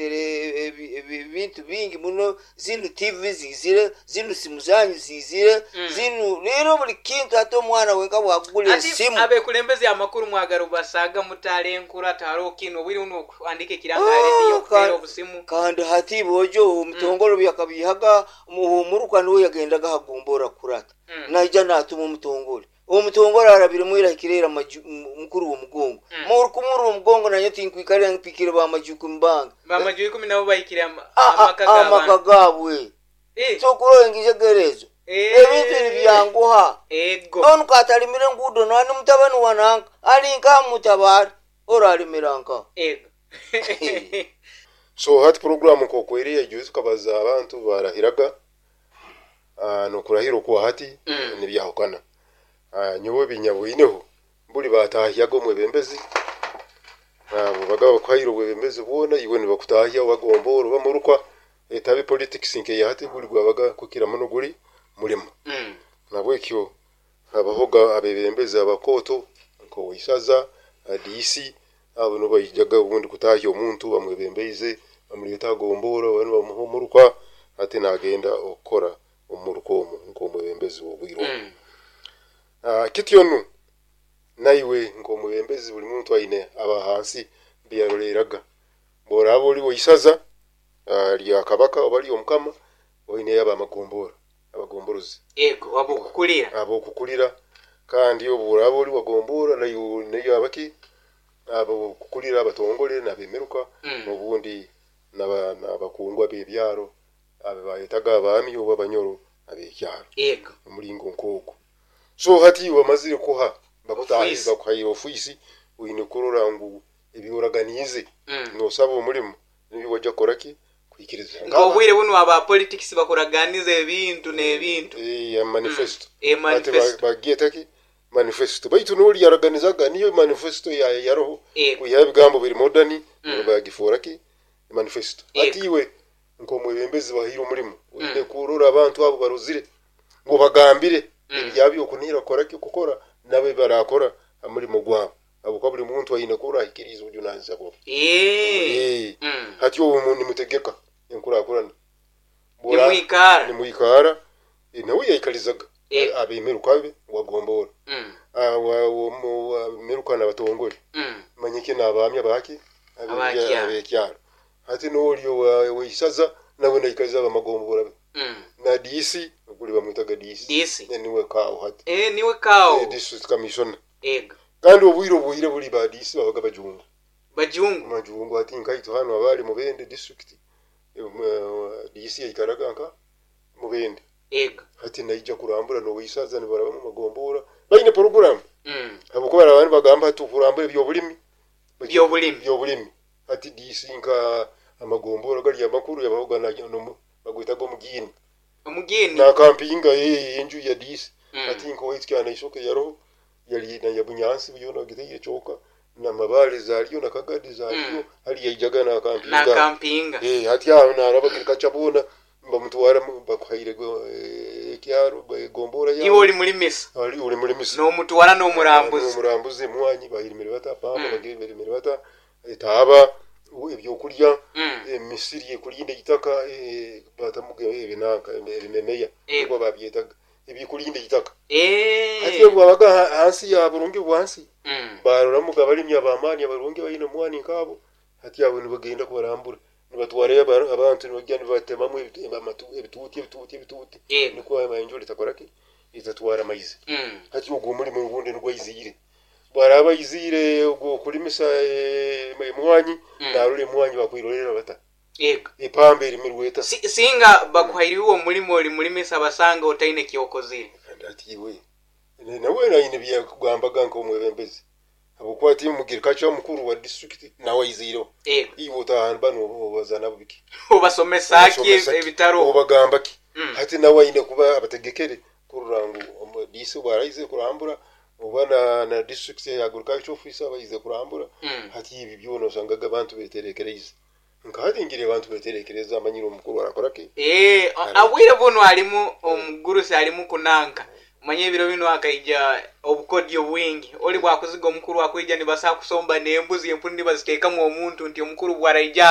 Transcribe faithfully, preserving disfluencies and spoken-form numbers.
Ebintu bingi muno, zinu T V zizire, zinu simu zanyu zizire, Mm. zinu rero buli kintu. Hati omwana wenka bwakugula Ati esimu. Abekulembeze amakuru mwagala obasaga mutale enkura tihariho kinu obwire buno okuhandika ekiranga Ah, ha rediyo okuteera ka- obusimu. Kandi hati bojo omutongole byakabihaga omuruka, niwe yagendaga hagombora kurata. Mm. Naija natuma omutongole, omutongole arabire mwirahikirera mukuru w'omugongo. Mm. Mukuru w'omugongo naye tinkwikarira mpikire bamaju mbanga. Bamaju ikumi nabo bahikire ama- Ah, ah, amaka g'abantu. Amaka gaabwe. Eh, Sokurola engizegerezo, eh, ebintu nibyanguha. Ego. Onu katalimire enguudo nani mutabani wananka ali nka mutabari oralimira nka. Ego. So hati program nkokweri ejo tukabaza abantu barahiraga, uh, nokurahira okwa hati Mm. nibyahukana. uh, nyowe binyabwineho buli batahyaga omwebembezi, uh, bubaga bakuhaire obwebembezi bwona, iwe nibakutahya wagombora oba murukwa etabe politics nkeya hati, guli gwabaga kukira muno guli mulimo. Mm. Nabwekyo habahoga abebembezi abakoto nk'oweisaza, D C, abo nibo baijaga obundi kutahya omuntu bamwebembeize, bamuleta agombora, banu bamuha omuruka, ate nagenda okukora omuruka omu nk'omwebembezi w'obwire obwo. Mm. Ah, kityo nu naiwe nk'omwebembezi buli muntu aine aba hansi mbiyaroleraga. Bworaba oli weisaza ah, lya kabaka oba ly'omukama, oineyo abamagombora, abagomborozi. Ego, wabukukulira. Abokukulira. Kandi obu oraba oli wagombora, nayo nayo abaki abokukulira, abatongole nabemeruka. Mm. Obundi naba- n'abakungwa b'ebyaro abo bayetaga abaami oba abanyoro ab'ekyaro. Ego. Omulingo nk'ogwo. So hati wamazire kuha bakutahiza, Ofiisi. bakuhaire ofiisi, oine kurora ngu ebyoraganiize Mm. nosaba omulimu nibyo wajja kukoraki kuhikiriza. Nk'obwire buno aba politics bakuraganiza ebintu n'ebintu. Eh, manifesto. E Ati manifesto. bagyetaki manifesto, baitu noli yaraganizaga niyo manifesto ya yaroho. Ego. Kuiha ebigambo biri modern, Mm. bagifuuraki manifesto. Ego. Ati iwe nk'omwebembezi bahaire omulimu, oine Mm. kurora abantu abo barozire ngu bagambire Mm. ebyabyo okunihira kukoraki kukora nabo barakora omulimo gwabo, habwokuba buli muntu aine kurora ahikiriize obujunanizibwa bwe. Eh. Eh, Mm. hati obu nimutegeka enkurakurana. Bwora- nimwikara. Nimwikara. Eh, nawe yaikalizaga Eh. abemeruka be wagombora. Mm. Meruka nabatongole. Mm. Manyike n'abaamya baki? Abakyaro. Abekyaro. Hati n'oli owa- weisaza nawe naikaliza abamagombora be Mm. na D C guli bamwitaga D C. D C. Ne niwe kaawo hati. Eh, niwe kawo. Eh, district commissioner. Ego. Kandi obwire obwire buli ba D C babaga bajungu. Bajungu. Majungu. Hati nkaitu hano abali Mubende district, eh, D C yaikaraga nka Mubende. Ego. Hati naija kurambura noweisaza, nibaraba mu magombora baine program, Mm. habwokuba abantu bagamba hati okurambura ebyobulimi. Byobulimi. Byobulimi. Hati D C nka amagombora gali amakuru yabahoga bagwetaga omugini. Omugeni. Nakampinga enju ya D C. Mm. Hati nkowaitu kyana yaroho yali na yabunyansi byona giteire kyoka namabale zaliyo nakagadi zaliyo. Mm. Hali yaijaga nakampinga. Nakampinga. Eh, hati aho naraba kirikachabona bamutwara mu- bakuhaire go- eh, ekyaro gombora. Iwe oli mulimisa. Ali uli mulimisa. N'omutwara n'omurambuzi. Omurambuzi, emwanyi bayirimire bata, pamba Mm. bagirimire bata, etaaba, ebyokulya, Mm. emisiri ekulinda eitaka, eh, batamuga ebinanka ebimemeya. Eh. Nibwo babyetaga ebikulinda eitaka. Eh. Hati bwabaga ha- hansi ya burungi bwansi, Mm. baroramuga abalimi abamaani abarungi baine omwani nkabo, hati abo nibagenda kubarambura, nibatwarayo aba- abantu, nibagenda nibatemamu ebitu- amatu- ebituuti ebituuti ebituuti. Yego. Nikwo enjura etakoraki, etatwara amaizi. Mm. Hati ogwo omulimu ogundi nigwo aiziire, bwaraba aiziire ogwo okulimisa eh, emwanyi, Mm. narora emwanyi bakwirorera bata, Yego. epamba erimirwe eta. Si- singa bakuhairiwe omulimu oli mulimisa basanga otaine kyokozire. Kandi ati iwe ne- nawe naine byakugambaga nk'omwebembezi, habwokuba ati mugirikacha omukuru wa district nawe aiziireho. Yego. Iwe otahamba nobaza nabo biki? Obasomesa ki? Obasomesa ki? Ebitaro. Obagamba ki? Mm. Hati nawe aine kuba abategekere kurora ngu omu- D C bwaraize kurambura oba na, na district agriculture officer baize kurambura. Mm. Hati ibi byona osangaga abantu beterekereize, nkahati ngire abantu beterekereza amanyire omukuru arakoraki. Eh, abwire buno alimu omugurusi alimu kunanka manye ebiro bino akaija obukodyo bwingi oli bwakuziga omukuru akwija nibasa kusomba n'embuzi empunu nibaziteekamu omuntu nti omukuru bwaraija.